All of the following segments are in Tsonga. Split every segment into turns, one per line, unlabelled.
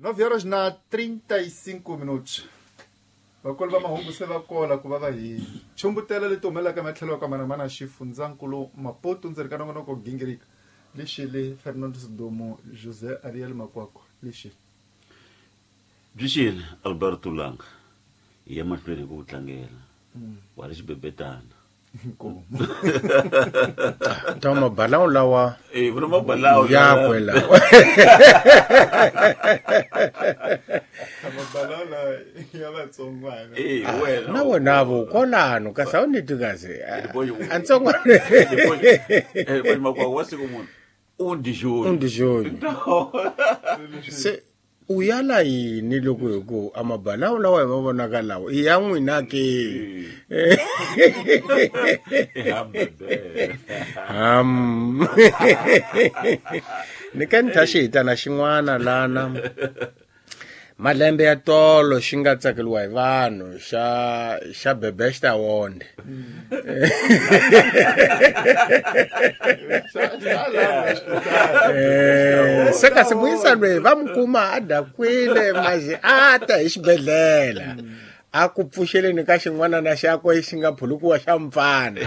9 horas na 35 minutos. Vakulu va mahungu se va kola ku va va hi chumbutela leti humelelaka ematlhelo ya ku hambanahambana xifundzankulu Maputo ndzeni ka nongonoko gingirika lexili Fernando Sidumo José Ariel Makwakwa lexili.
Byi xile Alberto Langa hi ya mahlweni hi ku tlangela wa ri xibebetana
Inkomu.
Ta mabalawu lawa
Eh, vona mabalawu
yakwe lawa.
Mabalala ya vatsongwana.
Eh, wena
Na wona vo kwalano kasi a wu ni twi kasi.
Boy-
Antsongwana.
Eh, makwakwa wa siku munhu undixoni
Undixoni. Se u yala yini loko hi ku a mabalawu lawa hi ma vonaka lawa i ya n'wina ke? Ham. Ni ka ni tha xihitana xin'wana lana. Malembe ya tolo xi nga tsakeliwa hi vanhu xa xa Bebesta Wonde. Eh, se kasi muyisa loyi va mu kuma a dakwile maji a ta hi xibedhlele a ku pfuxeleni ka xin'wana na xakwe xi nga phulukiwa xa mpfana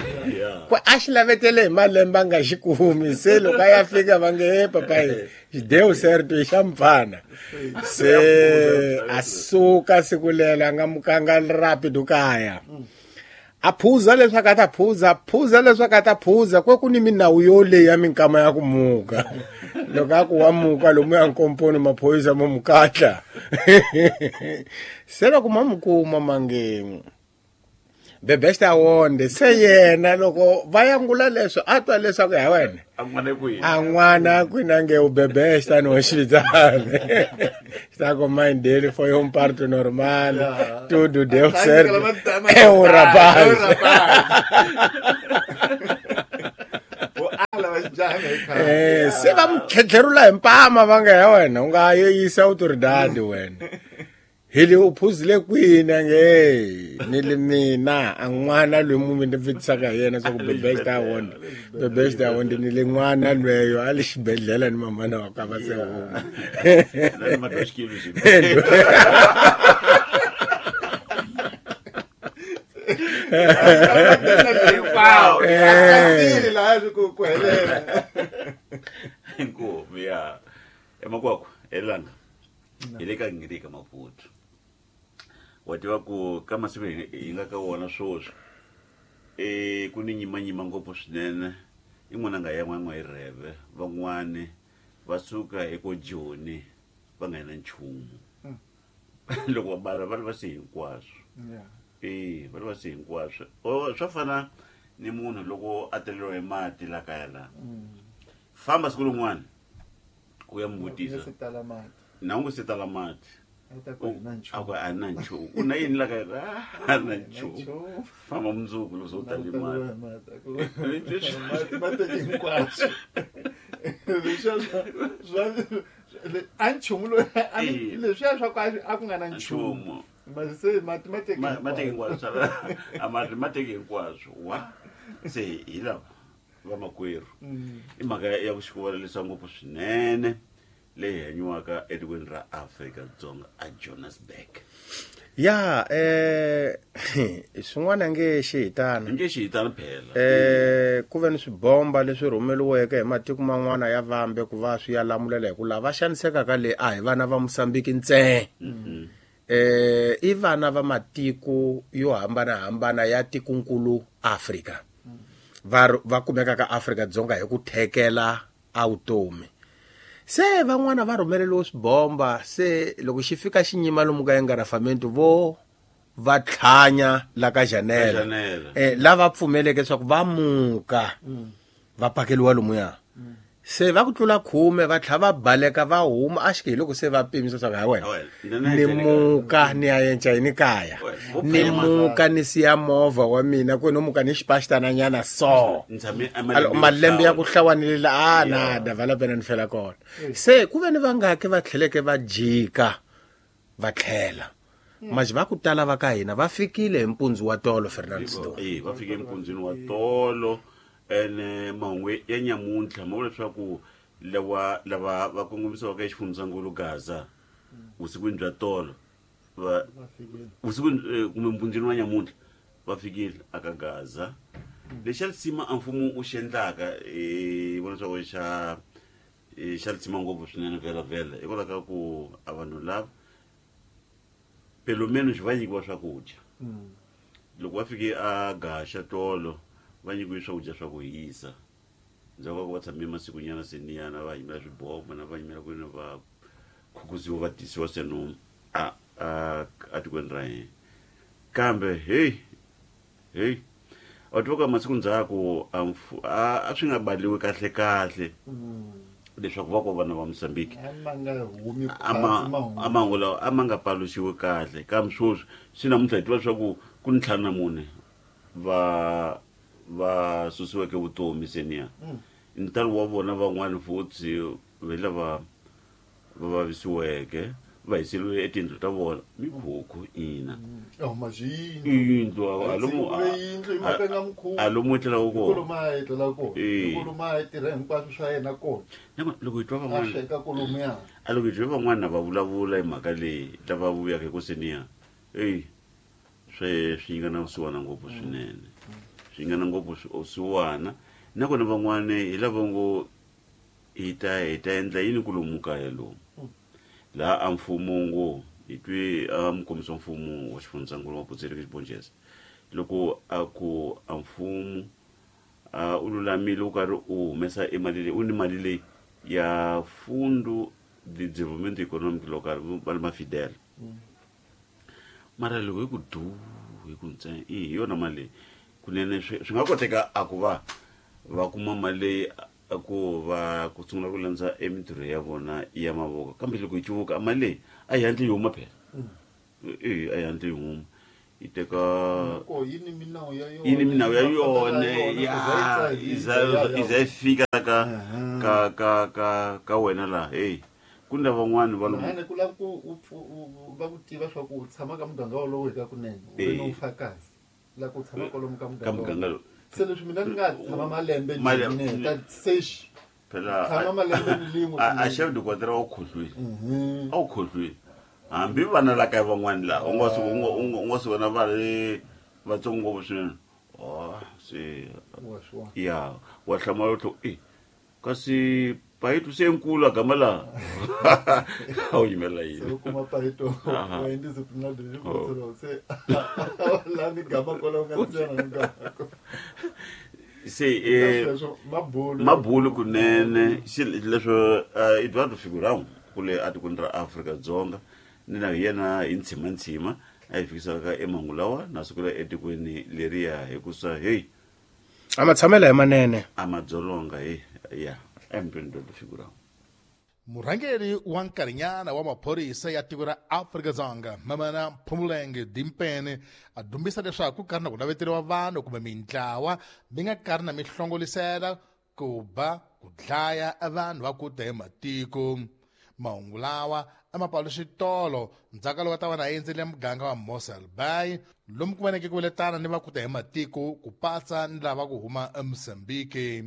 ku a xi lavetele hi malembe a nga xi kumi se loko a ya fika va nge he papayi xideu certo i xa mpfana se a suka siku lelo a nga mukanga rapido kaya a phuza leswaku a ta phuza phuza leswaku a ta phuza kwe ku ni minawu yoleyi ya minkama ya ku muka loko a ku wa muka lomu ya nkomponi maphorisa mo mukatla se loko ma mu kuma mange bebesta wonde se yena loko va yangula leswo a twa leswaku ya wena
a n'wana kwihi
a n'wana kwina nge u bebesta no xivitane está com mãe dele foi um parto normal tudo deu certo é um rapaz
U ala va xijaha hi khale.
Eh, se va mu tlhetlherula hi mpama va nga ya wena u nga yo yisa autoridade wena hi le u phuzile kwini a nge "Hey, ni le mina a n'wana loyi mu mi ni vutisaka hi yena swa ku bebesta wonde bebesta wonde ni le n'wana lweyo a le xibedhlele ni mamana wa ka va se huma
Na ni matwa xikili xi
Hinkwavo. A tsakile laha swi ku ku helela.
Inkomu ya emakwakwa elanga hi le ka ngirika Maputo wa tiva ku ka masiku hi hi nga ka wona sweswi e ku ni nyimanyima ngopfu swinene yin'wana nga ya n'wana hi rheve van'wani va suka eko Joni va nga na nchumu loko va bala va ri va se hinkwaswo e va ri va se hinkwaswo O, swa fana ni munhu loko a teleriwa hi mati la kaya la famba siku rin'wana u ya mu vutisa
Se tala mati.
na u nga se tala mati
A ta ku na
a
nchumu.
ku a na nchumu u na yini la kaya a na nchumu
Nchumu.
famba mundzuku loko se u tale mati
Mati. Mati ma teke hinkwaswo. Leswiya swa swa a nchumu loyi a
Eh.
leswiya swa ku a ku nga na nchumu.
nchumu
Mati se mati ma teke
Ma teke hinkwaswo a mati ma teke hinkwaswo wa se hi lava vamakwerhu i mhaka ya ku xikuvalelisa ngopfu swinene leyi hanyiwaka etikweni ra Afrika-Dzonga a Johannesburg
ya eh swin'wana nge xihitana
nge xihitana phela
eh ku ve ni swibomba leswi rhumeliweke hi matiko man'wana ya vambe ku va swi ya lamulela hi ku lava xanisekaka le a hi vana va Mosambiki ntsena eh i vana va matiko yo hambanahambana ya tikonkulu Afrika va va kumeka ka Afrika-Dzonga hi ku thekela a vutomi se van'wana va rhumeleliwe swibomba se loko xi fika xi nyima lomu ka engarafamento vo va tlhanya la ka Janela
Janela.
eh lava pfumeleke leswaku va muka va pakeliwa lomuya se va ku tlula 10 va tlha va baleka va huma a xi hi loko se va pimisa swa ku ha wena
Ha wena, ni
ni
na
muka ni ya yenca yini kaya
Wena,
ni
vo
muka ni siya movha wa mina ku no muka ni xipaxitananyana so
Ni tshame
Alo, malembe ya ku hlawanile a na
Yeah.
da vala pena ni fela kona se ku ve ni vangaki va tlheleke va jika va tlhela maji va ku tala va ka hina va fikile hi mpundzu wa tolo Fernand Sido
Eh, va fike empundzwini wa tolo ene mahungu ya nyamuntlha ma vula leswaku lawa lava va kongomisiwaka exifundzhankulu Gaza Vusikwini bya tolo va vusikwini kumbe mpundzini wa nyamuntlha va fikile aka Gaza. Lexi xa lisima a mfumo wu xi endlaka hi vona swa ku xa lisima ngopfu swinene vhela vhela hikwalaho ka ku a vanhu lava pelo menos va nyikiwa swakudya. Loko va fike a Gaxa tolo va nyikiwe swakudya swa ku hisa. Ndzhaku ka ku va tshame masikunyana seniyana va yimela swiboho na va yimela ku va khukuziwa va tisiwa seno a a tikweni ra hina. Kambe hey hey a tiva ka masiku ndzhaku a swi nga baliwi kahle kahle leswaku va ko vana va Mozambique a mahungu lawa a ma nga paluxiwi kahle. Kambe sweswi swi namuntlha hi tiva leswaku ku ni 54 va susiweke vutomi seniya. Ntalo wa vona van'wani futhi ve lava va vavisiweke va hiseriwe etindlu ta vona mikhukhu ina. Yindlu alomu etlelaka kona. Loko hi twa van'wana a loko hi twa van'wana va vulavula hi mhaka leyi lava vuyaka hi ku seniya eyi swi nyikana vusiwana ngopfu swinene. Swi nyikana ngopfu vusiwana. Nakona van'wana hi lava ngo hi ta endla yini ku lomu kaya lomu laha a mfumo ngo hi twi a mukombisi wa mfumo wa xifundzankulu wa Putsereke Xibonjeza loko a ku a mfumo u lulamile u karhi u humesa emali leyi u ni mali leyi ya Fundo de Desenvolvimento Econômico Local va le Mafidel. Mara loko hi ku du hi ku ntsena hi yona mali leyi kunene swi nga koteka a ku va va kuma mali leyi ku va ku sungula ku landza emintirho ya vona ya mavoko. Kambe loko hi cuvuka mali leyi a yi hatli yi huma phela. A yi hatli yi huma yi teka yi ni minawu ya yona ya yi za yi fika ka ka ka ka ka wena laha. Hey ku ni lavan'wani va
lomu ku lava ku va ku tiva swa ku u tshama ka muganga wolowo hi ka kunene u ri no mufakazi la ku tshama kwalomu ka muganga lowu. Se leswi mina ni nga tshama malembe njhani ta sex
phela
tshama malembe ni lin'we
a chef de quartier wa khohlwile a wu khohlwile hambi vana la kaya van'wani laha u nga swi vona va ri vatsongo ngopfu swinene. Se ya wa hlamala u e kasi Paito se nkulu a gama laha a wu yimela yini
u kuma Paito wa indisciplinary se la ni gama kwalaho nga ntsena ni gama
se mabulu kunene leswo Eduardo Figurão kule atikweni ra Afrika-Dzonga ni na yena hi ntshima a hi fikisaka emangu lawa na sukela etikweni leriya hikusa hey
a matshamelo hi manene
a madzolonga hey ya Eduardo Figurão.
Murhangeri wa nkarhinyana wa maphorisa ya tiko ra Afrika-Dzonga Mamana Phumulenge Dimpene a dumbisa leswaku ku karhi na ku naveteriwa vanhu kumbe mintlawa mi nga karhi na mihlongolisela ku ba ku dlaya vanhu va ku ta hi matiko. Mahungu lawa a ma paluxi tolo ndzhaku loko ta va na endzele muganga wa Mossel Bay lomu ku vaneke ku veletana ni va ku ta hi matiko ku patsa ni lava ku huma eMozambique.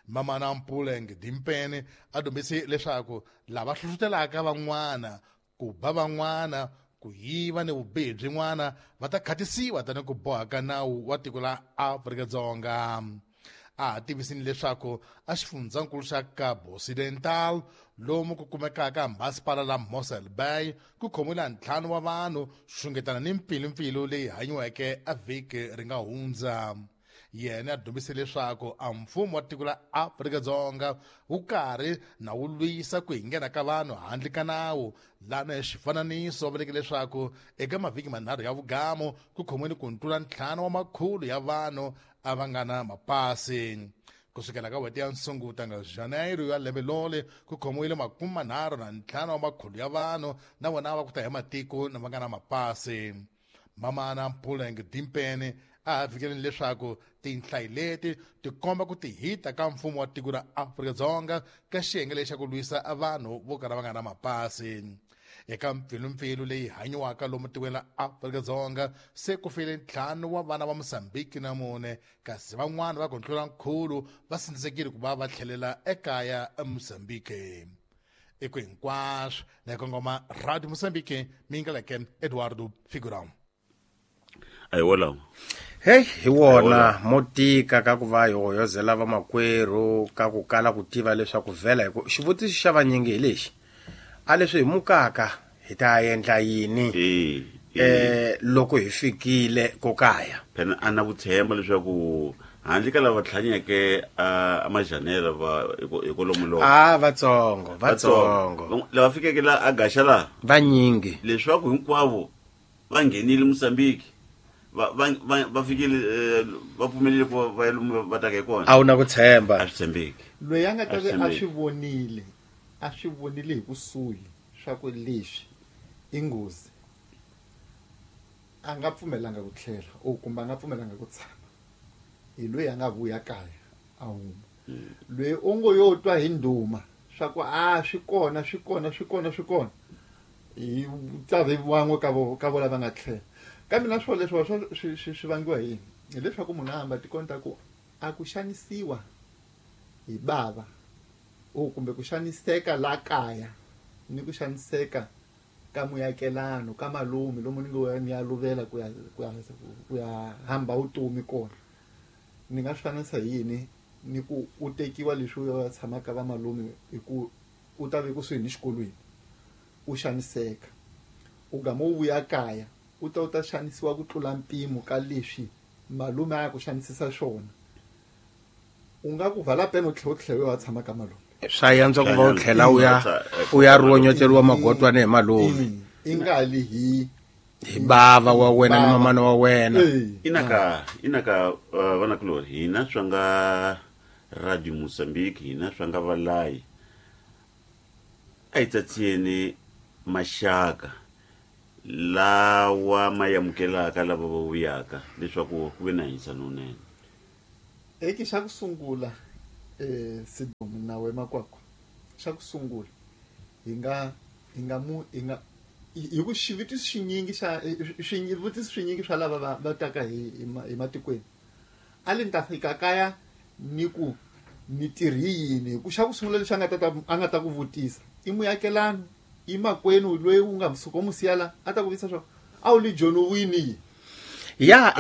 Mamana Mpuleng Dimpene a dumbise leswaku lava hlohlotelaka van'wana ku ba van'wana ku yiva ni vubihi byin'wana va ta khatisiwa tani ku boha ka nawu wa tiko la Afrika-Dzonga. A ha tivisini leswaku a xifundzankulu xa Cabo Occidental lomu ku kumekaka masipala la Mossel Bay ku khomiwile 5 wa vanhu xungetana ni mpfilumpfilu leyi hanyiweke a vhiki ri nga hundza. Yena a dumbise leswaku a mfumo wa tiko la Afrika-Dzonga wu karhi na wu lwisa ku hinghena ka vanhu handle ka nawu lana hi xifananiso va vuleke leswaku eka mavhiki manharhu ya vugamu ku khomiwile ku tlula 5 wa makhulu ya vanhu a va nga na mapasi. Kusukela ka n'hweti ya Nsunguta nga Janeiro ya lembe lole ku khomiwile 35 wa makhulu ya vanhu na vona va ku ta hi matiko na va nga na mapasi. Mamana Mpuleng Dimpene a ha fikeleni leswaku tinhlayi leti ti komba ku tihita ka mfumo wa tiko ra Afrika-Dzonga ka xiyenge lexi xa ku lwisa vanhu vo kala va nga na mapasi. Eka mpfilumpfilu leyi hanyiwaka lomu tikweni ra Afrika-Dzonga se ku file 5 wa vana va Mozambique na 4 kasi van'wana va ku tlula nkhulu va sindzisekile ku va va tlhelela ekaya eMozambique. I ku hinkwaswo na hi kongoma Radio Mozambique mi yingeleke Eduardo Figurão.
A hi wolawo.
Hey, hi wona mo tika ka ku va hi hoyozela vamakwerhu ka ku kala ku tiva leswaku vhela hi ku xivutiso xa vanyingi hi lexi a leswi hi mukaka hi ta endla yini loko hi fikile ko kaya.
Phela a na ku tshemba leswaku handle ka lava tlhanyeke a majanela va hi kolomo loko
a vatsongo vatsongo
lava fikeke la a gaxa la
vanyingi
leswaku hinkwavo va nghenile Mozambique va fikile va pfumelile ku va ya lomu va taka hi kona.
A wu na ku tshemba.
A swi tshembeki.
Loyi a nga ta ve a swi vonile hi kusuhi swa ku leswi i nghozi a nga pfumelanga ku tlhela o kumbe a nga pfumelanga ku tshama hi loyi a nga vuya kaya a huma. Loyi u ngo yo twa hi ndhuma swa ku a swi kona swi kona swi kona swi kona hi tsavi van'we ka vo lava nga tlhela. Kambe na swona leswi swi vangiwa hi yini? Hileswaku munhu a hamba tikoni ta ku a ku xanisiwa hi bava o kumbe ku xaniseka la kaya ni ku xaniseka ka muakelano ka malume lomu ni ngo ni ya luvela ku ya hamba vutomi kona. Ni nga swi fananisa hi yini ni ku u tekiwa leswi u ya tshamaka va malume hi ku u ta ve kusuhi ni xikolweni u xaniseka u gama u vuya kaya u ta xanisiwa ku tlula mpimo ka leswi malume a ya ku xanisisa swona. U nga ku vala peno u tlhela u ya tshama ka malume.
Swa yantswa ku va u tlhela u ya ronyoteliwa magotwana hi malume.
I nga li hi
bava wa wena ni mamana wa wena.
Inaka vanakulori hina swa nga Radio Mozambique hina swa nga valayi a hi tsatsiyeni maxaka lawa ma amukelaka lava va vuyaka leswaku ku ve na hanyisano wunene.
Eki xa ku sungula Sidomu na we makwakwa xa ku sungula hi nga hi ku xivutiso xinyingi xa xivutiso swinyingi swa lava va taka hi matikweni a le ni ta fika kaya ni ku ni tirhi yini hi ku xa ku sungula lexi a nga ta ku vutisa i muakelano i makwenu loyi u nga suka u mu siya la a ta ku vutisa swa a wu li joni u wini.
Ya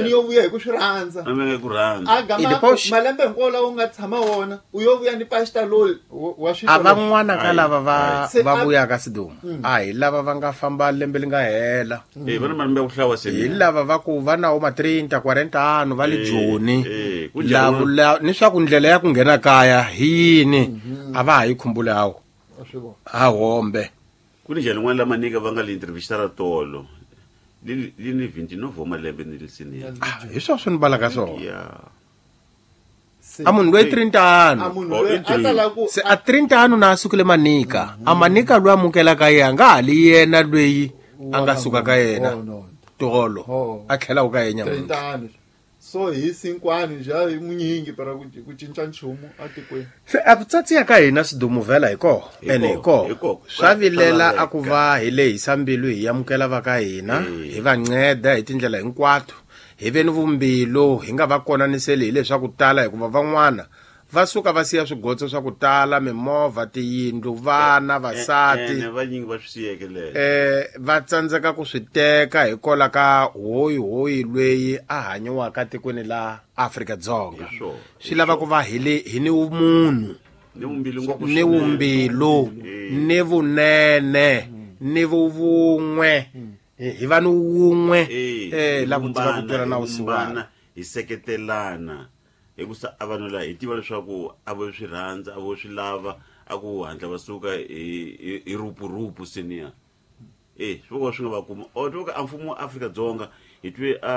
ni yo vuya hi ku swi rhandza a gama malembe hinkwawo lawa u nga tshama wona u yo vuya ni pasta loyi wa swi
a van'wana ka lava va vuyaka Sidomu a hi lava va nga famba lembe li nga hela
va na malembe ya ku hlawa
hi lava va ku va na ma 30 40 ano va le Joni ni swa ku ndlela ya ku nghena kaya hi yini a va ha yi khumbuli hawo a hombe
ku ni njhani n'wana la manika va nga le intervista ra tolo li ni 29 malembe ni lisini
hi swa swi ni balaka swona a munhu loyi 30 ano se a 30 ano na a sukile manika a manika loyi amukelaka yena nga ha li yena loyi a nga suka ka yena tolo a tlhela ka yena
nyamuntlha. So hi sinkwani ja hi munyingi para ku cinca nchumu atikweni.
Se a ku tsatsiya ka hina Sidumu vhela hi koho ene hi koho swa vilela a ku va hi lehisa mbilu hi amukela va ka hina hi va nceda hi tindlela hinkwato hi ve ni vumbilu hi nga va konaniseli hi leswaku tala hikuva van'wana va suka va siya swigotso swa ku tala mimovha tiyindlu vana vasati
vanyingi va swi siyeke
va tsandzeka ku swi teka hikola ka hoyi hoyi loyi a hanyiwaka tikweni la Afrika-Dzonga. Swi lava ku va hi ni munhu ni vumbilu ni vunene ni vuvun'we hi va ni wun'we la ku tiva ku twela na vusiwana
hi seketelana hi ku sa a vanhu la hi tiva leswaku a vo swi rhandza a vo swi lava a ku hatla va suka hi rupurupu senior swi voka swi nga va kuma o twa ka mfumo wa Afrika-Dzonga hi twe a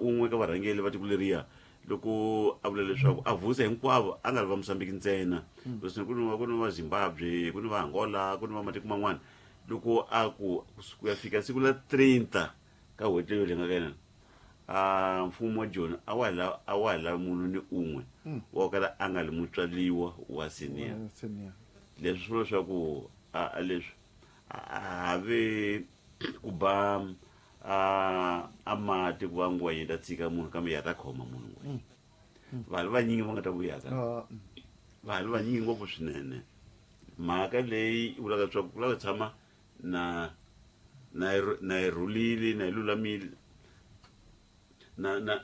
un'we ka varhangeri va tiko leriya loko a vula leswaku a vusa hinkwavo a nga ri va Mozambique ntsena ku ni va Zimbabwe ku ni va Angola ku ni va matiko man'wana loko a ku ku ya fika siku la 30 ka n'hweti leyo leyi nga ka yena a mfumo wa Joni a wa lavi munhu ni un'we wa kala a nga li mutswaliwa wa senior leswi swi vula leswaku a leswi a ve ku ba a mati ku va ngwenya ta tshika munhu kambe ya ta khoma munhu ngwenya vanhu vanyingi va nga ta vuyaka Va ha ri vanyingi ngopfu swinene. Mhaka leyi yi vulaka leswaku ku lava ku tshama na na yi na yi rhulile na yi lulamile na na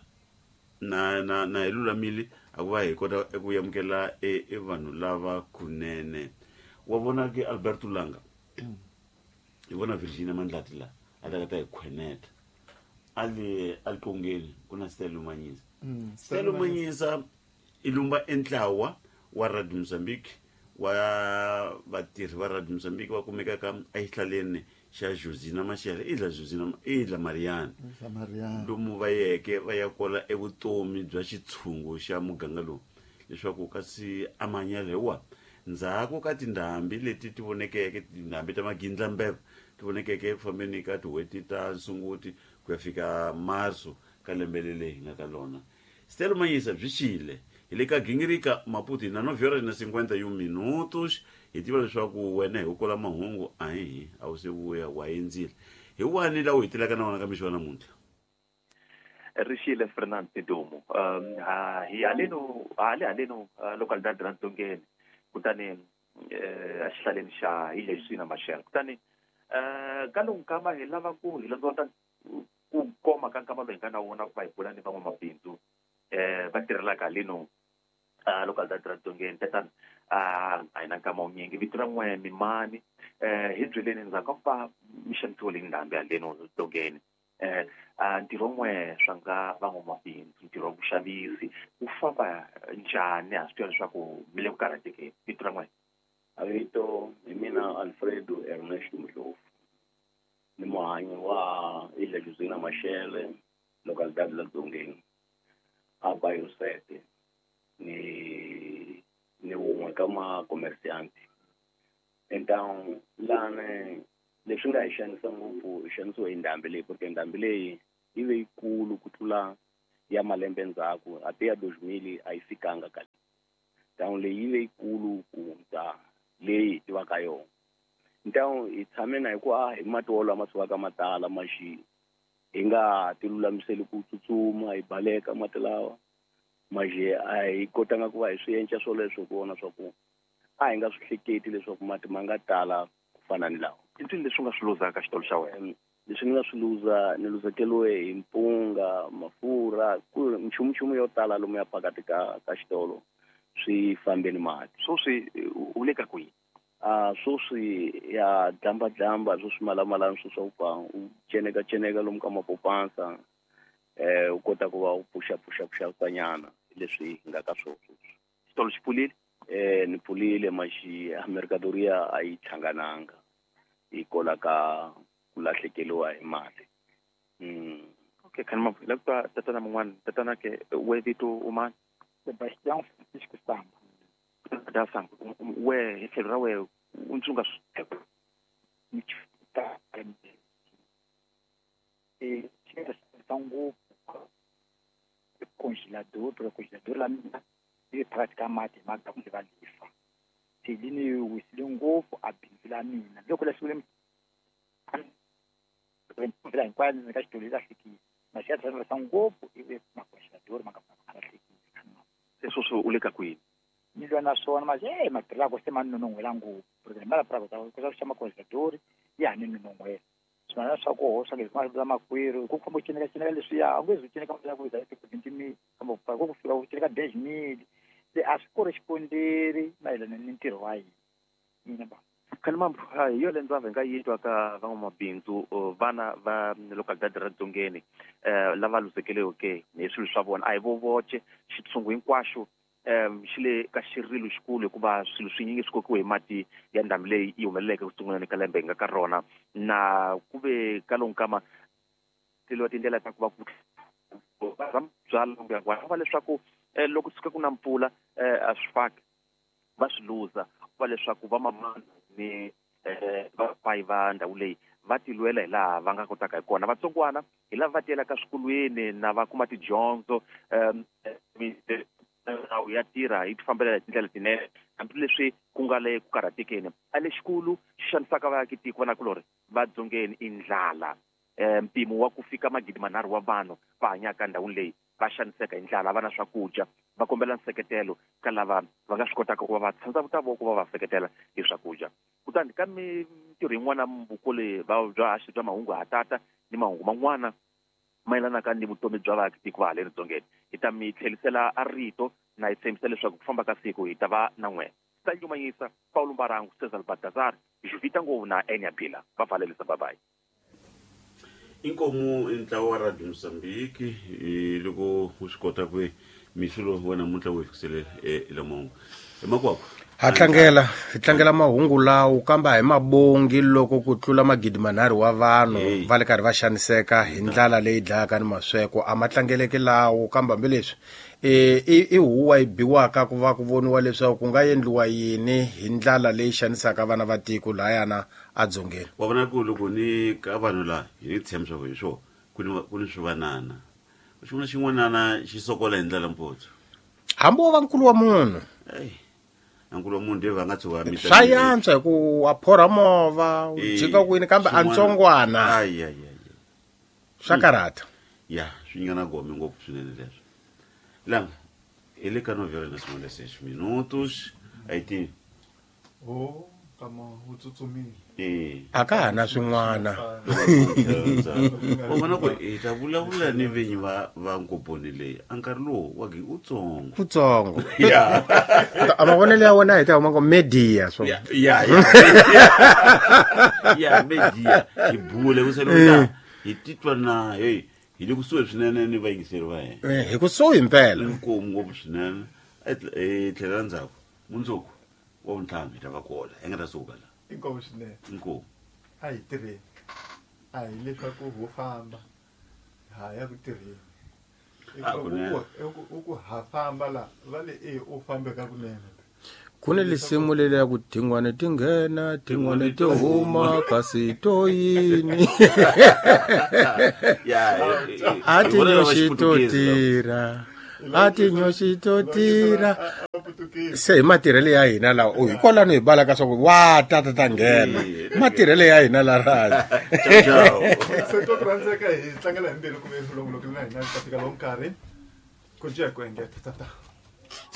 na na na hi lulamile a ku va hi kota eku amukela e, e vanhu lava kunene. Wa vona ke Alberto Langa, hi vona Virginia Mandlati la a ta ka ta hi khweneta a le a liqongeni ku na Stelo Manyisa. Stelo Manyisa i lumba entlawa wa Radio Mozambique wa vatirhi va Radio Mozambique va kumekaka exihlaleni xa Josina Machel, Ilha Josina, Ilha Mariana, lomu va yeke va ya kola evutomi bya xitshungu xa muganga lowu leswaku kasi amanyelewa ndzhaku ka tindhambi leti ti vonekeke, tindhambi ta magindlambeva ti vonekeke eku fambeni ka tin'hweti ta Sunguti ku ya fika Marso ka lembe leli hi nga ka lona. Stelo Manyisa byi xile hi le ka gingirika Maputo hi na 9 horas na 51 minutos. Hi tiva leswaku wena hi ku kola mahungu a hi hi a wu se vuya wa endzile hi wani laha u hi telaka na wona ka mixo wa namuntlha.
Ri xile Fernand Sidumo. Ha hi haleno hale haleno localidade ra Ntsongeni, kutani exihlaleni xa Ilha Justina Machel. Kutani ka lowu nkama hi lava ku hi londzola ku koma ka nkama lowu hi nga na wona ku va hi bula ni van'wamabindzu va tirhelaka haleno localidade ra Ntsongeni. Tatana, a hi na nkama wunyingi, vito ra n'we mimani, hi byeleni ndzhaku ka ku va mi xanisiwile hi ndhambi haleno Ntsongeni, ntirho n'we swa nga van'wamabindzu, ntirho wa vuxavisi wu famba njhani? Ha swi tiva leswaku mi le ku karhatekeni. Vito ra n'we?
A vito hi mina Alfredo Ernesto Mdlovu, ni muhanyi wa Ilha Josina Machel, localidade la Dzongeni, a bairro 7, ni wun'we ka makomersianti. Então lani leswi nga hi xanisa ngopfu, hi xanisiwe hi ndhambi leyi, porque ndhambi leyi yi ve yikulu ku tlula ya malembe ndzhaku, a ti ya 2000 a yi fikanga ka leyi. Então leyi yi ve yikulu ku hundza leyi hi tivaka yona. Então hi tshame na hi ku a hi mati wolawo ma sukaka ma tala maxi hi nga ti lulamiseli ku tsutsuma hi baleka mati lawa maxi, a hi kotanga ku va hi swi enca swoleswo ku vona swa ku a hi nga swi hleketi leswaku mati ma nga tala ku fana ni lawa.
I ncini leswi u nga swi luzaka ka xitolo xa wena?
Leswi ni nga swi luza, ni luzekeriwe hi mpunga, mafurha, ku nchumunchumu yo tala lomu ya phakati ka xitolo swi fambe ni mati.
Sweswi u le ka kwihi?
Sweswi ya dlamba dlamba, swo swimalamalani swo swa ku pfa u ceneka ceneka lomu ka mapopansa, u kota ku va u pfuxa pfuxa pfuxa nyana leswi hi nga ka swona sweswi.
Xitolo xi pfulile?
Ni pfulile maxi mercadoria a yi hlangananga hi kola ka ku lahlekeriwa hi mali.
Okay, khani mavu, hi lava ku twa tatana mun'wana. Tatana ke we vito u mani?
Sebastião Francisco Samba.
Da Samba, we hi tlhelo ra we u ntsunga swi
ngopfu congelador, porque congelador la mina yi phakathi ka mati hi mhaka kumbe va lifa. Se li ni wisile ngopfu a bindzu la mina. Loko la sungule mvula hinkwayo ni ka xitolo yi lahlekile. Masi ya tlhela ngopfu ivi macongelador ma nga ma lahlekile.
Se sweswi u le ka kwini?
Ni lwa na swona masi matirhako se ma nonon'hwela ngopfu. Porque mali ya ku kota ku xava macongelador ya ha ni nonon'hwela. Swin'wana swa koho swa leswi ma makwerhu ku famba u cineka cineka leswiya, a nge zi u cineka mali ya ku za 20 000, kambe ku fika u cineka 10 000. Se a swi kori xikonderi mayelana ni ntirho wa hina mina ba.
Khani mambu, hi yo le ndzava hi nga yi twa ka van'wamabindzu, vana va localidade ra Dzongeni, lava luzekeriweke hi swilo swa vona. A hi vo voce, xitshungu hinkwaxo xi le ka xirilo xikulu hikuva swilo swinyingi swi kokiwe hi mati ya ndhambi leyi yi humeleleke ku sunguleni ka lembe hi nga ka rona. Na ku ve ka lowu nkama teliwa tindlela ta ku va ku va byala kumbe va leswaku loko tshuka ku na mpfula, a swi faki va swi luza, va leswaku va mamana ni vapayi va ndhawu leyi va tilwela hi laha va nga kotaka hi kona. Vatsongwana hi lava va tiyelaka swikolweni na va kuma tidyondzo, nawu ya tirha yi tifambelela hi tindlela tinene hambileswi ku nga le ku karhatekeni. A lexikulu xi xanisaka vaakitiko vanakulorhi va Dzongeni i ndlala. Mpimo wa ku fika 3,000 wa vanhu va hanyaka ndhawini leyi va xaniseka hi ndlala, va na swakudya. Va kombela nseketelo ka lava va nga swi kotaka ku va va tshandza voko va va seketela hi swakudya. Kutani ka mintirho yin'wana vukule bya haxi bya mahungu ha tata ni mahungu man'wana mayelanaka ni vutomi bya vaakatiko va haleni dzongeni, hi ta mi tlherisela a rito na hi tshembisa leswaku ku famba ka siku hi ta va na n'wina. Ta nyumanyisa Paulo Mbarangu, Cesar Baltazar, Juvita Ngovu na Enya Bila. Va valelisa, bye bye.
Inkomu i ntlawa wa Radio Mozambique loko u swi kota ku mixo lowu wa namuntlha wu hi fikisele ela mahungu emakwako.
Ha tlangela, hi tlangela mahungu lawo, kambe a hi mabongi loko ku tlula 3,000 wa vanhu va le karhi va xaniseka hi ndlala leyi dlayaka ni masweko. A ma tlangeleki lawo, kambe hambileswi i huwa yi biwaka ku va ku voniwa leswaku ku nga endliwa yini hi ndlala leyi xanisaka vana va tiko layana adzongeni.
Wa vona ku loko ni ka vanhu laha hi ni tshemba swa ku hi swona ku ni swivanana, xin'wana xin'wanana xi sokola hi ndlela mpotso.
Hambi wo va nkulu wa munhu.
Eyi, nkulu wa munhu de va nga tshuka
mita. Swa yantswa hi ku wa phorha movha u jika kwini, kambe a ntsongwana
ai ai ai
swa karhata.
Ya, swi nyika na gome ngopfu swinene leswo. Langa hi le ka 9:56 a yi tivi.
O kama wu tsutsumile.
A ka ha na swin'wana.
U vona ku hi ta vulavula ni vinyi va nkoponi leyi a nkarhi lowu wa utsongo.
Kutsongo. A mavonelo ya wena hi ta huma ngo media so.
Ya, media hi bule ku sele hi titwa na hey, hi le kusuhi swinene ni vayingiseri va hina.
Hi kusuhi mpela.
Inkomu ngopfu swinene. Hi tlhelela ndzhaku mundzuku wa vuntlhanu, hi ta va kola hi nga ta suka la.
Inkomu swinene.
Inkomu.
A hi tirheni, a hi leswaku ho famba ha ya ku tirheni.
Ah, kunene.
U ku ha famba la va le e u fambe ka kunene.
Ku ni lisimu leli ya ku tin'wana ti nghena, tin'wana ti huma, kasi to yini?
Ya.
A tinyoxi to tirha, a tinyoxi to tirha. Se hi matirhelo ya hina lawa u hi kwalano hi balaka swa ku wa tata ta nghena, matirhelo ya hina la raji.
Ciao.
Se to ku rhandzeka, hi tlangela hi mbilu ku ve longolokile na hina ta fika lowu nkarhi ku cinca hi ku engeta tata.